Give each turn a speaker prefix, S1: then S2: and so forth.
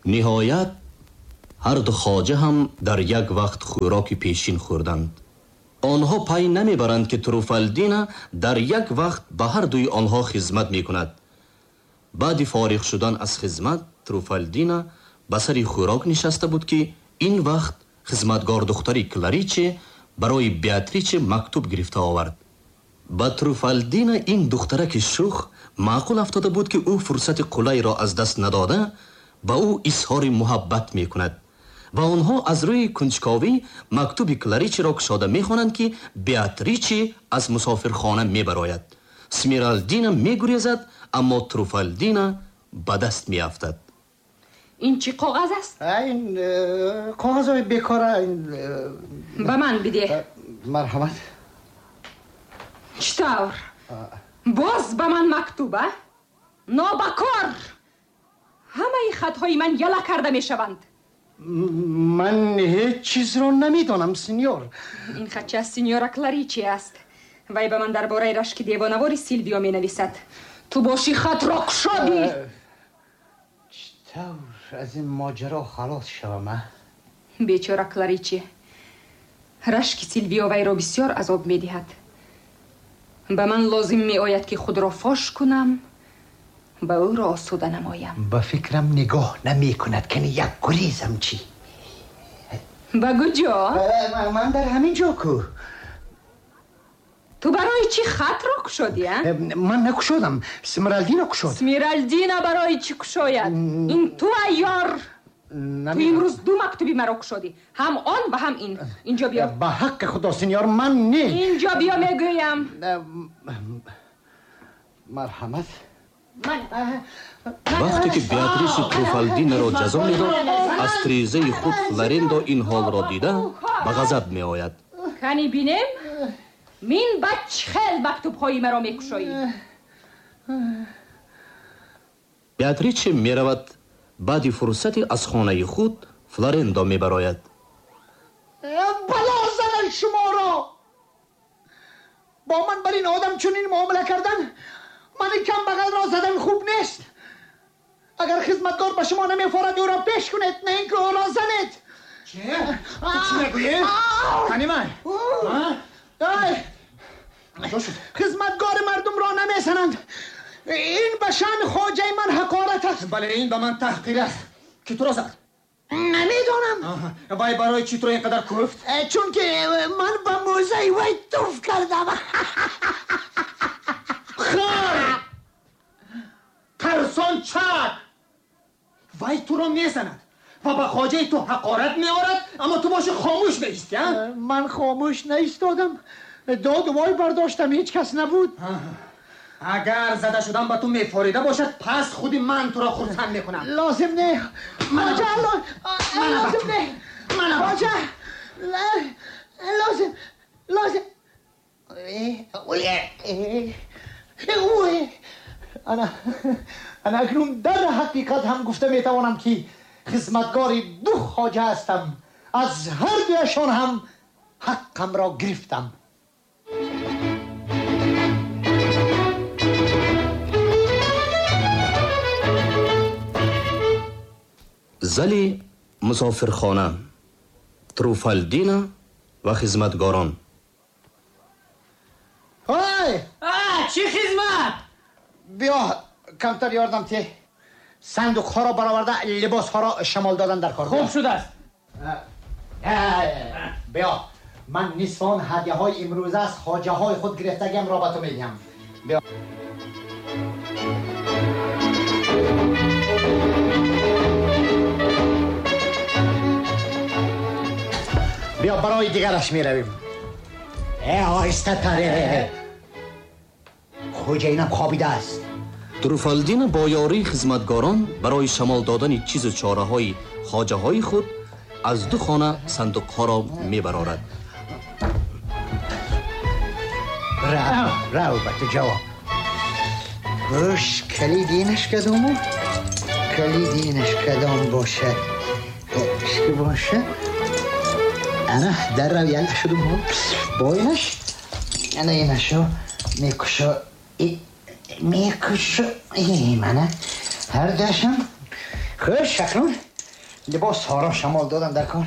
S1: Ниҳоят ҳар ду хоҷа ҳам дар як вақт хӯроки пешин хӯрданд. Онҳо пай намебаранд, ки Труфалдина дар як вақт ба ҳар дуи онҳо хизмат мекунад. Баъди фориғ шудан аз хизмат, Труфалдина ба сари хӯрок нишаста буд, ки ин вақт хизматгор духтари Клариче барои Беатриче мактуб гирифта овард. Ба Труфалдина ин духтараки шух маъқул афтода буд, ки ӯ фурсати қулайро аз даст надода ба ӯ изҳори муҳаббат мекунад ва онҳо аз рӯи кунҷковӣ мактуби Кларичиро кушода мехонанд, ки Беатриче аз мусофирхона мебарояд. Смиралдина мегурезад, аммо Труфалдина ба даст меафтад.
S2: Ин чӣ коғаз аст?
S3: Ин коғазҳои бекора.
S2: Ба ман бидеҳ.
S3: Марҳамат.
S2: Чӣ тавр? Боз ба ман мактуб, а? Нобакор! Ҳамаи хатҳои ман яла карда мешаванд.
S3: Ман ҳеҷ чизро намедонам, синьор.
S2: Ин хатча аз синьора Кларичи аст. Вай ба ман дар бораи рашки девонавори Силвио менависад. Ту боши хатро кушодӣ.
S3: Чӣ тавр аз ин моҷаро халос шавам, а?
S2: Бечора Кларичи. Рашки Силвио вайро бисёр азоб медиҳад. Ба ман лозим меояд, ки худро фош кунам, ба ӯро осуда намоям.
S3: Ба фикрам нигоҳ намекунад, кани як гурезам чӣ?
S2: Ба куҷо?
S3: Ман дар ҳамин ҷо ку.
S2: Ту барои чӣ хатро кушодӣ, а?
S3: Ман накушодам, Смиралдина кушод.
S2: Смиралдина барои чӣ кушояд? Ин ту айёр! Ту имрӯз ду мактуби маро кушодӣ, ҳам он ва ҳам ин. Инҷо биё.
S3: Ба ҳаққи Худо, синьор, ман не.
S2: Инҷо биё, мегӯям.
S3: Марҳамат.
S1: Вақте ки Беатричи Труфалдинаро ҷазо медод, аз тирезаи худ Флорендо ин ҳолро дида ба ғазаб меояд.
S2: Кани бинем, мин ба чӣ хел мактубҳои маро мекушоӣ?
S1: Беатриче меравад. Баъди фурсате аз хонаи худ Флорендо мебарояд.
S3: Бало занад шуморо! Бо ман бар ин одам чунин муомила кардан, мани камбағалро задан хуб нест. Агар хизматгор ба шумо намефорад, ӯро пеш кунед, на ин ки ӯро занед.
S4: Чӣ? Ту чӣ мегӯӣ? Кани ман?
S3: Хизматгори мардумро намезананд. Ин ба шаъни хоҷаи ман ҳақорат аст.
S4: Бале, ин ба ман таҳқир аст. Ки туро зад?
S3: Намедонам.
S4: Вай барои чӣ туро ин қадар куфт?
S3: Чунки ман ба мӯзаи вай туф кардам.
S4: Хар! Тарсон чак! Вай туро мезанад ва ба хоҷаи ту ҳақорат меорад, аммо ту боши хомӯш меистӣ, а?
S3: Ман хомӯш наистодам. Доду вой бардоштам, ҳеҷ кас набуд.
S4: Агар зада шудан ба ту мефорида бошад, пас худи ман туро хурсанд мекунам.
S3: Лозим не. Хоҷа, лозим не. Хоҷа, лозим, лозим. Ана акнун дар ҳақиқат ҳам гуфта метавонам, ки хизматгори ду хоҷа ҳастам. Аз ҳар дуяшон ҳам ҳаққамро гирифтам.
S1: Зали мусофирхона, Труфалдина ва хизматгорон.
S3: Ой!
S5: Чӣ хизмат?
S3: Биё, камтар ёрдам те. Сандуқҳоро бароварда, либосҳоро шамол додан дар кор.
S5: Хуб шудааст.
S3: Биё, ман нисфи он ҳадяҳои имрӯза аз хоҷаҳои худ гирифтагиамро ба ту медиҳам. Биё. Биё, барои дигараш меравем. Оҳистатаре. Хоҷаинам хобидааст.
S1: Труфалдина бо ёрии хизматгорон барои шамол додани чизу чораҳои хоҷаҳои худ аз ду хона сандуқҳоро мебарорад.
S3: Рав, рав ба ту ҷавоб. Гӯш, калиди инаш кадому? Калиди инаш кадом бошад? Ки бошад? Ана дар рав яла шудум. Бо инаш? Ана инашо мекушо. Мекушо. Мана ҳар дашам. Хуш, акнун Либос ҳоро шамол додан дар кор.